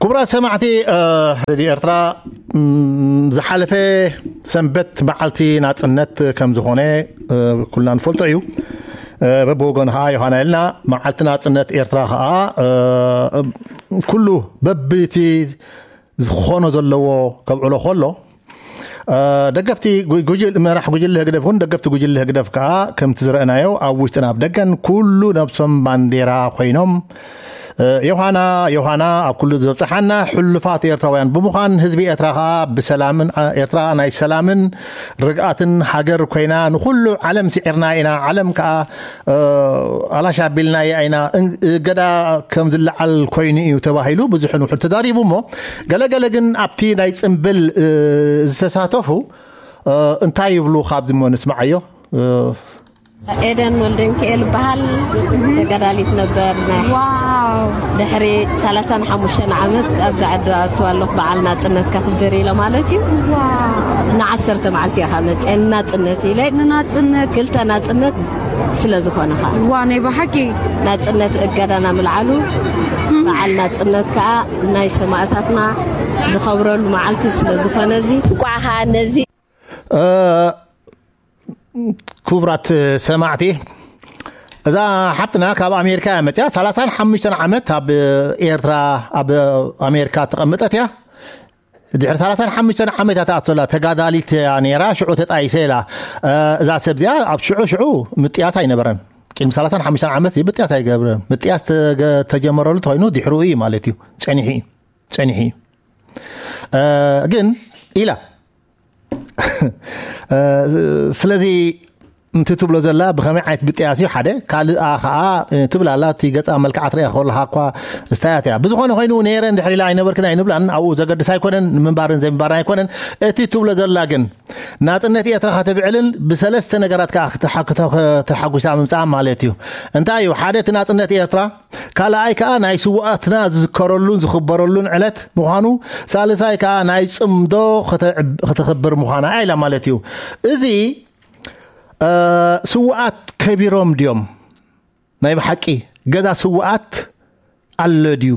ክቡራት ሰማዕቲ፣ እ፣ ሬድዮ ኤርትራ፣ ም፣ ዝሓለፈ ሰንበት መዓልቲ ናጽነት ከም ዝኾነ፣ እ፣ ኩልና ንፈልጦ እዩ። እ፣ በብወገኑ ኸኣ ዮሃና ኢልና፣ መዓልቲ ናጽነት ኤርትራ ኸኣ፣ እ፣ ኩሉ በብቲ ዝኾኖ ዘለዎ ከብዕሎ ከሎ፣ እ፣ ደገፍቲ ጉ-፣ ጉጅል-፣ መራሕ ጉጅለ ህግደፍ እውን ደገፍቲ ጉጅለ ህግደፍ ከኣ ከምቲ ዝረእናዮ ኣብ ውሽጥን ኣብ ደገን ኩሉ ነብሶም ባንዴራ ኮይኖም፣ እ፣ ዮሃና፣ ዮሃና ኣብ ኩሉ ዘብጽሓና ሕሉፋት ኤርትራውያን ብምዃን ህዝቢ ኤርትራ ከኣ ብሰላምን፣ እ፣ ኤርትራ ናይ ሰላምን ርግኣትን ሃገር ኮይና ንኹሉ ዓለም ስዒርና ኢና። ዓለም ከኣ፣ እ፣ ኣላሽ ኣቢልናያ ኢና። እን-፣ እገዳ ከም ዝለዓል ኮይኑ እዩ ተባሂሉ ብዙሕን ውሑድ ተዛሪቡ እሞ፣ ገለገለ ግን ኣብቲ ናይ ጽምብል፣ እ፣ ዝተሳተፉ፣ እ፣ እንታይ ይብሉ ካብዚ እሞ ንስምዓዮ። እ፣ ኤደን ወልደንክኤል ይበሃል። ተጋዳሊት ነበር። ናይ ዋው። ድሕሪ ሰላሳን ሓሙሽተን ዓመት ኣብዚ ዓዲ ኣቱ ኣለኹ፣ በዓል ናጽነት ከኽብር ኢለ ማለት እዩ። ዋው። ንዓሰርተ መዓልቲ እየ ካብ መጽአ ንናጽነት ኢለ። ንናጽነት። ክልተ ናጽነት ስለ ዝኾነ ኸኣ። ዋ፣ ናይ ብሓቂ። ናጽነት እገዳና ምልዓሉ፣ በዓል ናጽነት ከኣ ናይ ሰማእታትና ዝኸብረሉ መዓልቲ ስለ ዝኾነ እዚ፣ እንቋዕ ኸኣ ነዚ እ፣ ክቡራት ሰማዕቲ፣ እዛ ሓብትና ካብ ኣሜሪካ እያ መጽያ። ሰላሳን ሓሙሽተን ዓመት ኣብ ኤርትራ፣ ኣብ ኣሜሪካ ተቐመጠት እያ። ድሕሪ ሰላሳን ሓሙሽተን ዓመታት ኣቶላ ተጋዳሊት እያ ነይራ፣ ሽዑ ተጣይሰ ኢላ። እ፣ እዛ ሰብ እዚኣ ኣብ ሽዑ፣ ሽዑ ምጥያስ ኣይነበረን። ቅድሚ ሰላሳን ሓሙሽተን ዓመት ምጥያስ ኣይገብረን። ምጥያስ ተገ-፣ ተጀመረሉ ተኾይኑ ድሕሩ እዩ ማለት እዩ። ጸኒሑ እዩ። ጸኒሑ እዩ። እ፣ ግን ኢላ። እ፣ ስለዚ፣ እንቲ ትብሎ ዘላ ብኸመይ ዓይነት ብጥያስ እዩ ሓደ፣ ካልኣ ኸዓ፣ እ፣ ትብል ኣላ፣ እቲ ገጻ መልክዓ ትሪኣ ከለኻ እኳ ስታያት እያ። ብዝኾነ ኮይኑ፣ ነይረ እንድሕር ኢላ ኣይነበርክን ኣይንብላን፣ ኣብኡ ዘገድስ ኣይኮነን፣ ንምንባርን ዘይምንባርን ኣይኮነን። እቲ ትብሎ ዘላ ግን፣ ናጽነት ኤርትራ ከተብዕልን ብሰለስተ ነገራት ከኣ ክትሓ-፣ ክተ-፣ ከተሓጉሳ ምምጻኣ ማለት እዩ። እንታይ እዩ? ሓደ፣ እቲ ናጽነት ኤርትራ፣ ካልኣይ ከኣ ናይ ስውኣትና ዝዝከረሉን ዝኽበረሉን ዕለት ምዃኑ፣ ሳልሳይ ከኣ ናይ ጽምዶ ክተ-፣ ክተኽብር ምዃና ኢላ ማለት እዩ። እዚ፣ እ፣ ስውኣት ከቢሮም ድዮም? ናይ ብሓቂ ገዛ ስውኣት ኣሎ ድዩ?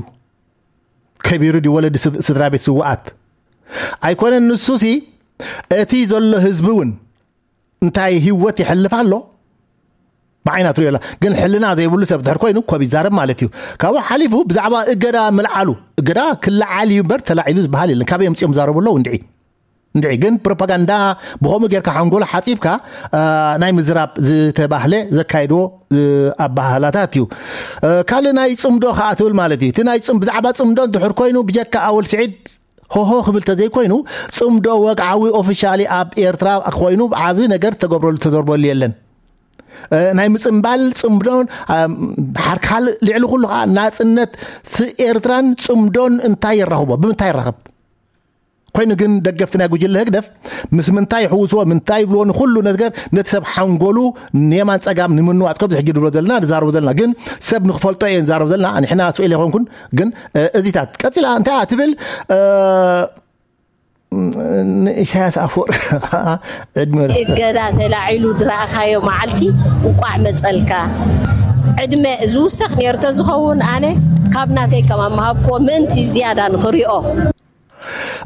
ከቢሩ ድዩ ወለዲ ስድ-፣ ስድራ ቤት ስውኣት? ኣይኮነን ንሱሲ፣ እቲ ዘሎ ህዝቢ እውን እንታይ ህይወት ይሕልፍ ኣሎ? ብዓይና ትሪኦ ኣላ። ግን ሕልና ዘይብሉ ሰብ ድሕር ኮይኑ ኮብ ይዛረብ ማለት እዩ። ካብኡ ሓሊፉ ብዛዕባ እገዳ ምልዓሉ፣ እገዳ ክለዓል እዩ እምበር ተላዒሉ ዝበሃል የለን። ካበይ ኣምጺኦም ዝዛረቡ ኣለዉ እንድዒ? እንድዒ ግን ፕሮፓጋንዳ ብኸምኡ ጌርካ ሓንጎሎ ሓጺብካ፣ እ፣ ናይ ምዝራብ ዝተባህለ ዘካይድዎ፣ እ፣ ኣባህላታት እዩ። እ፣ ካልእ ናይ ጽምዶ ከኣ ትብል ማለት እዩ። እቲ ናይ ጽም-፣ ብዛዕባ ጽምዶ እንድሕር ኮይኑ ብጀካ ኣወል ስዒድ ሆሆ ክብል ተዘይኮይኑ፣ ጽምዶ ወግዓዊ ኦፊሻሊ ኣብ ኤርትራ ኮይኑ ዓቢ ነገር ተገብረሉ፣ ተዘርበሉ የለን። እ፣ ናይ ምጽምባል ጽምዶን፣ ኣም፣ ሓር-፣ ካልእ ልዕሊ ኩሉ ከኣ ናጽነት ት-፣ ኤርትራን ጽምዶን እንታይ የራኽቦ? ብምንታይ ይራኸብ? ኮይኑ ግን ደገፍቲ ናይ ጉጅለ ህግደፍ ምስ ምንታይ ይሕውስዎ፣ ምንታይ ይብልዎ፣ ንኹሉ ነገር ነቲ ሰብ ሓንጎሉ ንየማን ጸጋም ንምንዋጽ፣ ከምዚ ሕጂ ንብሎ ዘለና፣ ንዛረቦ ዘለና፣ ግን ሰብ ንኽፈልጦ እየ ንዛረቦ ዘለና። ንሕና ስኡል ኣይኮንኩን፣ ግን፣ እ፣ እዚታት ቀጺላ እንታይ እያ ትብል? እ፣ ንኢሳያስ ኣፈወርቂ ዕድመ እገዳ ተላዒሉ ዝረኣኻዮ መዓልቲ እንቋዕ መጸልካ። ዕድመ ዝውሰኽ ነይሩ ተዝኸውን ኣነ ካብ ናተይ ከማን ምሃብክዎ ምእንቲ ዝያዳ ንኽሪኦ።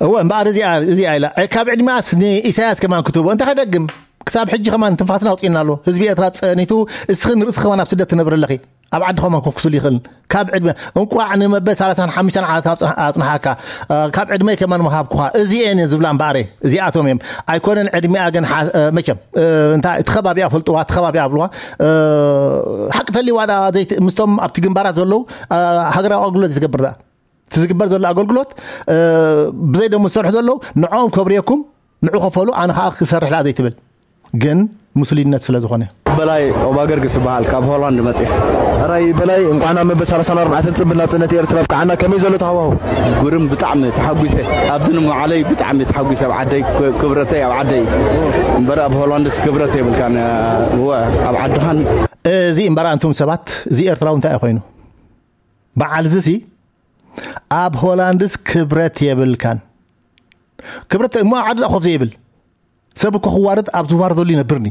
እወ፣ እምበኣር እዚኣ፣ እዚኣ ኢላ። እ፣ ካብ ዕድመኣስ ንኢሳያስ ከማን ክትህቦ። እንታይ ከደግም? ክሳብ ሕጂ ከማን ትንፋስና ኣውጺእና ኣሎ። ህዝቢ ኤርትራ ጸኒቱ፣ እስኽን ርእስኺ ከማን ኣብ ስደት ትነብሪ ኣለኺ። ኣብ ዓዲ ከማን ኮፍ ክትብል ይኽእል። ካብ ዕድመ፣ እንቋዕ ንመበል ሰላሳን ሓሙሽተን ዓመት ኣጽንሓ-፣ ኣጽንሓካ። እ፣ ካብ ዕድመይ ከማን ምሃብኩኻ። እዚኤን እየን ዝብላ እምበኣር፣ እዚኣቶም እዮም። ኣይኮነን ዕድሚኣ ግን ሓ-፣ እ፣ መቸም፣ እ፣ እንታይ፣ እቲ ከባቢኣ ፈልጥዋ፣ እቲ ከባቢኣ ኣብልዋ። እ፣ ሓቂ ተልዋ ዳ ዘይት-፣ ምስቶም ኣብቲ ግንባራት ዘለዉ፣ እ፣ ሃገራዊ ኣገልግሎት ትገብር ዳ። እቲ ዝግበር ዘሎ ኣገልግሎት፣ እ፣ ብዘይ ደሞዝ ዝሰርሑ ዘለዉ፣ ንዕኦም ከብርየኩም፣ ንዑ ከፈሉ፣ ኣነ ኸኣ ክሰርሕ ደኣ ዘይትብል። ግን ምስሉይነት ስለ ዝኾነ። በላይ ኦባገርግስ ይበሃል፣ ካብ ሆላንድ መጽየ። ሕራይ በላይ፣ እንኳዕ ናብ መበል ሰላሳን ኣርባዕተን ጽምብል ናጽነት ኤርትራ ኣብቅዓና። ከመይ ዘሎ እቲ ሃዋህው? ግርም፣ ብጣዕሚ ተሓጒሰ። ኣብዚ ንመዓለይ ብጣዕሚ ተሓጒሰ። ኣብ ዓደይ ክ-፣ ክብረተይ ኣብ ዓደይ። እምበር ኣብ ሆላንድስ ክብረት የብልካን። እወ፣ ኣብ ዓድኻን። እዚ እምበራ እንቱም ሰባት፣ እዚ ኤርትራዊ እንታይ እዩ ኮይኑ? በዓል ዝሲ ኣብ ሆላንድስ ክብረት የብልካን። ክብረት እሞ ኣብ ዓዲ ኮፍ ዘይብል ሰብ እኮ ክዋረድ ኣብ ዝዋረደሉ ይነብርኒ፣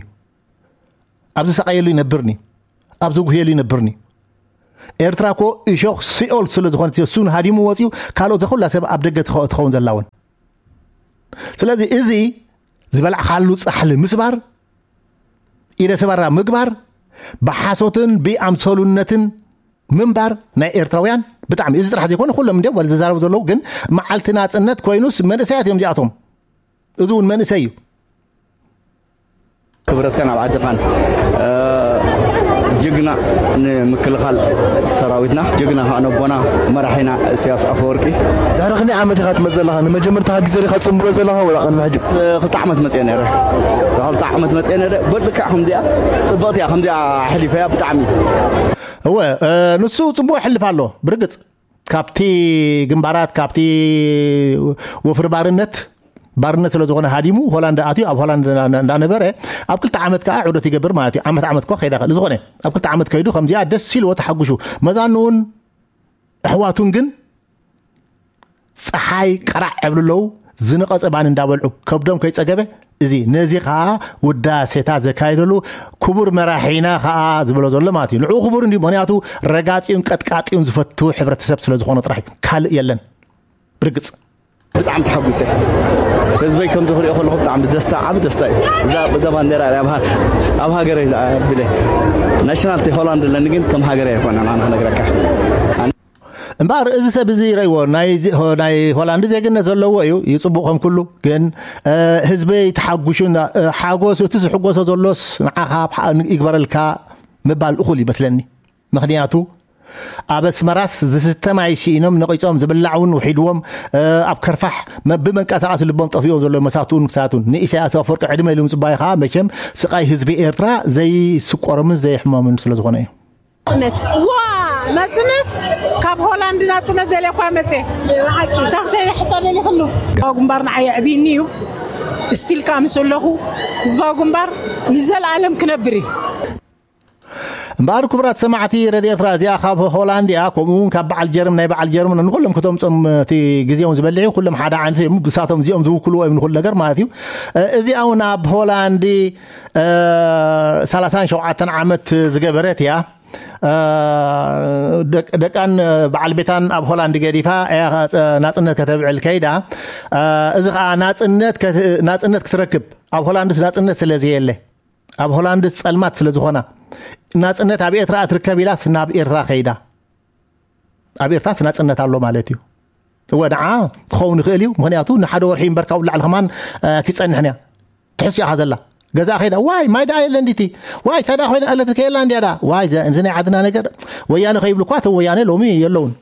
ኣብ ዝሰቃየሉ ይነብርኒ፣ ኣብ ዝጉህየሉ ይነብርኒ። ኤርትራ እኮ እሾኽ ሲኦል ስለ ዝኾነት እሱ ሃዲሙ ወፂኡ፣ ካልኦት ዘኹላ ሰብ ኣብ ደገ ትኸ- ትኸውን ዘላ እውን። ስለዚ እዚ ዝበላዕካሉ ፃሕሊ ምስባር፣ ኢደ ሰባራ ምግባር፣ ብሓሶትን ብኣምሰሉነትን ምንባር ናይ ኤርትራውያን ብጣዕሚ፣ እዚ ጥራሕ ዘይኮነ ኩሎም እንዲዮም ዝዛረቡ ዘለዉ፣ ግን መዓልቲ ናፅነት ኮይኑስ መንእሰያት እዮም እዚኣቶም። እዚ እውን መንእሰይ እዩ። ክብረትካን ኣብ ዓድኻን። ጅግና ንምክልኻል ሰራዊትና፣ ጅግና ከዓ ነቦና መራሒና እስያስ ኣፈወርቂ። ድሕሪ ክንደይ ዓመት ኢኻ ትመጽእ ዘለኻ? ንመጀመርታ ግዜ ዲኻ ትጽንብሎ ዘለኻ ወላ ቅድሚ ሕጂ? ክልተ ዓመት መጽየ ነይረ። ክልተ ዓመት መጽየ ነይረ። በልካ ከምዚኣ ጽብቕቲ እያ፣ ከምዚኣ ኣሕሊፈያ ብጣዕሚ። እወ፣ ንሱ ጽቡቕ ይሕልፍ ኣሎ ብርግጽ። ካብቲ ግንባራት፣ ካብቲ ወፍሪ ባርነት፣ ባርነት ስለ ዝኾነ ሃዲሙ ሆላንድ ኣትዩ፣ ኣብ ሆላንድ እንዳ- እንዳነበረ ኣብ ክልተ ዓመት ከዓ ዑደት ይገብር ማለት እዩ። ዓመት ዓመት እኳ ከይዳ ከ- ዝኾነ ኣብ ክልተ ዓመት ከይዱ ከምዚኣ ደስ ኢልዎ ተሓጉሹ። መዛኑውን ኣሕዋቱን ግን ፀሓይ ቀራዕ ዕብሉ ኣለዉ፣ ዝነቐፀ ባኒ እንዳበልዑ ከብዶም ከይፀገበ፣ እዚ ነዚ ከዓ ውዳሴታት ዘካየደሉ ክቡር መራሒና ከዓ ዝበሎ ዘሎ ማለት እዩ። ንዕኡ ክቡር እንዲ ምክንያቱ ረጋፂኡን ቀጥቃጢኡን ዝፈቱ ሕብረተሰብ ስለ ዝኾነ ጥራሕ እዩ። ካልእ የለን። ብርግፅ። ብጣዕሚ ተሓጒሰ። ህዝበይ ከምዚ ክሪኦ ከለኹ ብጣዕሚ ደስታ፣ ዓቢ ደስታ እዩ። እዛ እዛ ባንዴራ እያ ኣብ ሃ- ኣብ ሃገረይ ኣቢለ። ናሽናልቲ ሆላንድ ኣለኒ ግን ከም ሃገረይ ኣይኮነን ኣነ ክነግረካ። እምበኣር እዚ ሰብ እዚ ረእይዎ ናይ ዚ- ሆ- ናይ ሆላንድ ዜግነት ዘለዎ እዩ፣ ይጽቡቕ ከም ኩሉ። ግን ህዝበይ ተሓጒሹ፣ ሓጎስ እቲ ዝሕጎሶ ዘሎስ ንዓኻ ይግበረልካ ምባል እኹል ይመስለኒ። ምኽንያቱ ኣብ ኣስመራስ ዝስተ ማይ ስኢኖም ነቒጾም፣ ዝብላዕ እውን ውሒድዎም፣ ኣብ ከርፋሕ ብመንቀሳቐሲ ልቦም ጠፊኦም ዘለዉ መሳትኡን ክሳቱን ንኢሳያስ ኣፈወርቂ ዕድመ ኢሉ ምጽባይ ከዓ መቸም ስቓይ ህዝቢ ኤርትራ ዘይስቆሮምን ዘይሕመምን ስለ ዝኾነ እዩ። ናጽነት ዋ ናጽነት ካብ ሆላንድ ናጽነት ደልያ እኳ መጽየ። ታኽተ ሕቶ ደሊኽሉ ግንባር ንዓይ ኣዕብይኒ እዩ። ስቲል ከዓ ምስ ኣለኹ ህዝባዊ ግንባር ንዘለኣለም ክነብር እዩ። እምበኣር ክቡራት ሰማዕቲ ረድዮ ኤርትራ፣ እዚኣ ካብ ሆላንድ እያ። ከምኡ እውን ካብ በዓል ጀርም ናይ በዓል ጀርም ንኩሎም ክተምፅኦም እቲ ግዜ እውን ዝበልዕ እዩ። ኩሎም ሓደ ዓይነት እዮም። ብሳቶም እዚኦም ዝውክልዎ እዮም ንኩሉ ነገር ማለት እዩ። እዚኣ እውን ኣብ ሆላንድ ሰላሳን ሸውዓተን ዓመት ዝገበረት እያ። ደቃን በዓል ቤታን ኣብ ሆላንድ ገዲፋ እያ ናፅነት ከተብዕል ከይዳ። እዚ ከዓ ናፅነት ናፅነት ክትረክብ ኣብ ሆላንድስ ናፅነት ስለ ዘየለ ኣብ ሆላንድስ ፀልማት ስለ ዝኾና ናፅነት ኣብ ኤርትራ ትርከብ ኢላስ ናብ ኤርትራ ከይዳ። ኣብ ኤርትራስ ናፅነት ኣሎ ማለት እዩ። እወ ንዓ ክኸውን ይኽእል እዩ። ምክንያቱ ንሓደ ወርሒ እምበርካ ውላዕሊ ከማን ኪፀንሕን እያ ትሕስ እያ ዘላ። ገዛ ከይዳ ዋይ ማይ ደኣ የለ እንዲቲ ዋይ ታዳ ኮይነ ኤሌክትሪክ የላ እንዲያ ዳ ዋይ እዚ ናይ ዓድና ነገር ወያነ ከይብሉ እኳ እቶም ወያነ ሎሚ የለውን።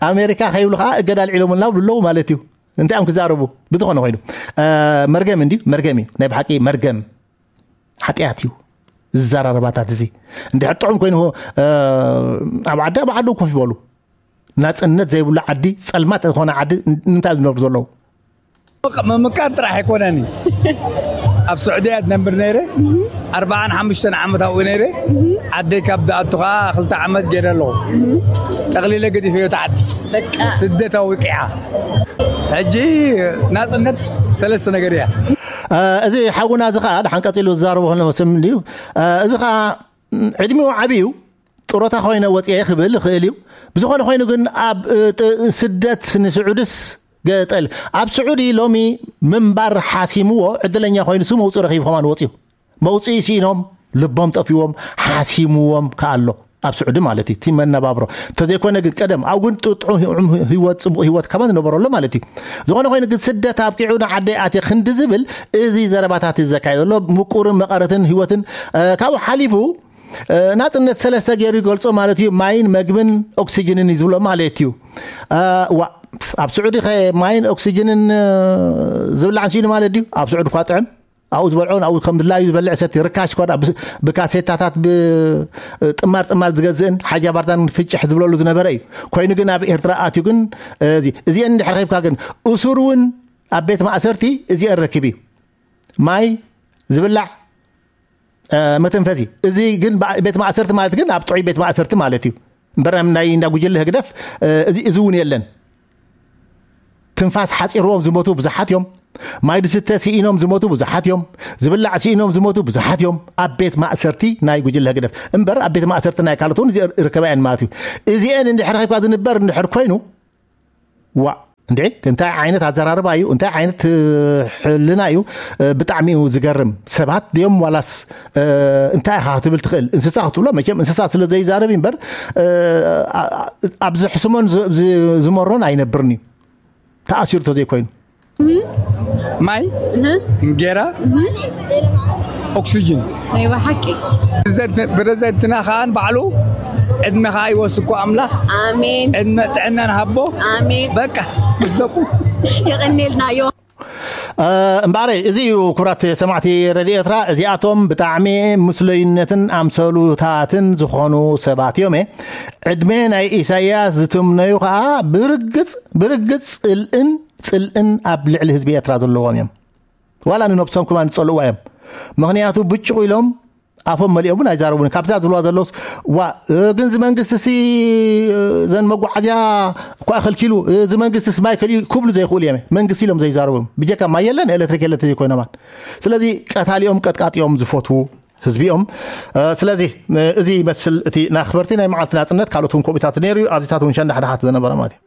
ኣሜሪካ ከይብሉ ከዓ እገዳ ኣልዒሎምልና ብሉ ኣለዉ ማለት እዩ። እንታይ እዮም ክዛረቡ? ብዝኾነ ኮይኑ መርገም እንዲ መርገም እዩ፣ ናይ ብሓቂ መርገም ሓጢኣት እዩ። ዝዘራረባታት እዚ እንድሕር ጥዑም ኮይኑ ኣብ ዓዲ ኣብ ዓዱ ኮፍ ይበሉ። ናፅነት ዘይብሉ ዓዲ ፀልማት ዝኾነ ዓዲ ንምንታይ ዝነብሩ ዘለዉ? ምምቃር ጥራሕ ኣይኮነን። ኣብ ስዑድያ ዝነብር ነይረ ኣርባዓን ሓሙሽተን ዓመት ኣብኡ ነይረ። ዓደይ ካብ ዝኣቱ ከዓ ክልተ ዓመት ገይረ ኣለኹ። ጠቕሊለ ገዲፈዮ ተዓዲ ስደት ኣውቂዓ። ሕጂ ናፅነት ሰለስተ ነገር እያ። እዚ ሓውና እዚ ከዓ ድሓን ቀፂሉ ዝዛረቦ ከሎ ስም እንድዩ። እዚ ከዓ ዕድሚኡ ዓብዩ ጥሮታ ኮይነ ወፅየ ክብል ይኽእል እዩ። ብዝኾነ ኮይኑ ግን ኣብ ስደት ንስዑድስ ገጠል ኣብ ስዑዲ ሎሚ ምንባር ሓሲምዎ ዕድለኛ ኮይኑ ሱ መውፅኢ ረኺቡ ከማን ወፅዩ መውፅኢ ሲኢኖም ልቦም ጠፊዎም ሓሲምዎም ከኣሎ ኣብ ስዑዲ ማለት እዩ። እቲ መነባብሮ እንተዘይኮነ ግን ቀደም ኣብ እውን ጥዑም ህይወት ፅቡቕ ህይወት ከማን ዝነበረሉ ማለት እዩ። ዝኾነ ኮይኑ ግን ስደት ኣብቂዑ ንዓደይ ኣትየ ክንዲ ዝብል እዚ ዘረባታት እዩ ዘካየደ ዘሎ ምቁርን መቐረትን ህይወትን ካብኡ ሓሊፉ ናፅነት ሰለስተ ገይሩ ይገልፆ ማለት እዩ። ማይን መግብን ኦክሲጅንን እዩ ዝብሎ ማለት እዩ። ዋ ኣብ ስዑዲ ኸ ማይን ኦክሲጅንን ዝብላዕ ንስኢኑ ማለት ድዩ? ኣብ ስዑዲ እኳ ጥዕም ኣብኡ ዝበልዖ ኣብኡ ከም ድላዩ ዝበልዕ ሰቲ ርካሽ እኳ ብካሴታታት ብጥማር ጥማር ዝገዝእን ሓጃ ባርዳን ፍጭሕ ዝብለሉ ዝነበረ እዩ። ኮይኑ ግን ኣብ ኤርትራ ኣትዩ ግን እዚአን እንድሕር ኸይብካ ግን እሱር እውን ኣብ ቤት ማእሰርቲ እዚአን ረኪብ እዩ። ማይ ዝብላዕ መተንፈሲ። እዚ ግን ቤት ማእሰርቲ ማለት ግን ኣብ ጥዑይ ቤት ማእሰርቲ ማለት እዩ። እምበር ናይ እንዳ ጉጅለ ህግደፍ እዚ እውን የለን። ትንፋስ ሓፂርዎም ዝሞቱ ብዙሓት እዮም። ማይ ዝስተ ስኢኖም ዝሞቱ ብዙሓት እዮም። ዝብላዕ ስኢኖም ዝሞቱ ብዙሓት እዮም። ኣብ ቤት ማእሰርቲ ናይ ጉጅለ ህግደፍ እምበር ኣብ ቤት ማእሰርቲ ናይ ካልኦት እውን ርከብ እየን ማለት እዩ። እዚአን እንድሕር ረኺብካ ዝንበር እንድሕር ኮይኑ፣ ዋ፣ እንዴ፣ እንታይ ዓይነት ኣዘራርባ እዩ? እንታይ ዓይነት ሕልና እዩ? ብጣዕሚ እዩ ዝገርም። ሰባት ድዮም ዋላስ እንታይ ኢኻ ክትብል ትኽእል? እንስሳ ክትብሎ መቸም እንስሳ ስለ ዘይዛረብ እምበር ኣብዚ ሕስሞን ዝመሮን ኣይነብርን እዩ። ተኣሲሩ ተዘይኮይኑ ማይ፣ እንጌራ፣ ኦክሲጅን። ናይ ብሓቂ ፕረዘንትና ከዓን ባዕሉ ዕድመኻ ይወስኮ ኣምላኽ። ኣሜን ዕድመ ጥዕናን ሃቦ። ኣሜን። በቃ ምስ ደቁ የቐኔልና ዮ እምበኣረይ፣ እዚ እዩ ክቡራት ሰማዕቲ ረድዮ ኤርትራ። እዚኣቶም ብጣዕሚ ምስለዩነትን ኣምሰሉታትን ዝኾኑ ሰባት እዮም። ዕድመ ናይ ኢሳያስ ዝትምነዩ ከዓ ብርግጽ ብርግጽ ጽልእን ጽልእን ኣብ ልዕሊ ህዝቢ ኤርትራ ዘለዎም እዮም። ዋላ ንነብሶም ክማን ዝጸልእዋ እዮም። ምክንያቱ ብጭቑ ኢሎም ኣፎም መሊኦም እውን ኣይዛረቡን። ካብዛ ዝብልዋ ዘለውስ ዋ ግን እዚ መንግስቲ ሲ ዘን መጓዓዝያ እኳ ከልኪሉ፣ እዚ መንግስቲ ስ ማይ ከልዩ ክብሉ ዘይኽእሉ እዮም። መንግስቲ ኢሎም ዘይዛረቡ እዮም። ብጀካ ማይ የለን ኤሌክትሪክ የለን ተዘይኮይኖማን። ስለዚ ቀታሊኦም ቀጥቃጢኦም ዝፈትዉ ህዝቢኦም። ስለዚ እዚ ይመስል እቲ ናኽበርቲ ናይ መዓልቲ ናፅነት። ካልኦት እውን ኮሚታት ነይሩ እዩ። ኣብዚታት እውን ሸንዳሕዳሓት ዝነበረ ማለት እዩ።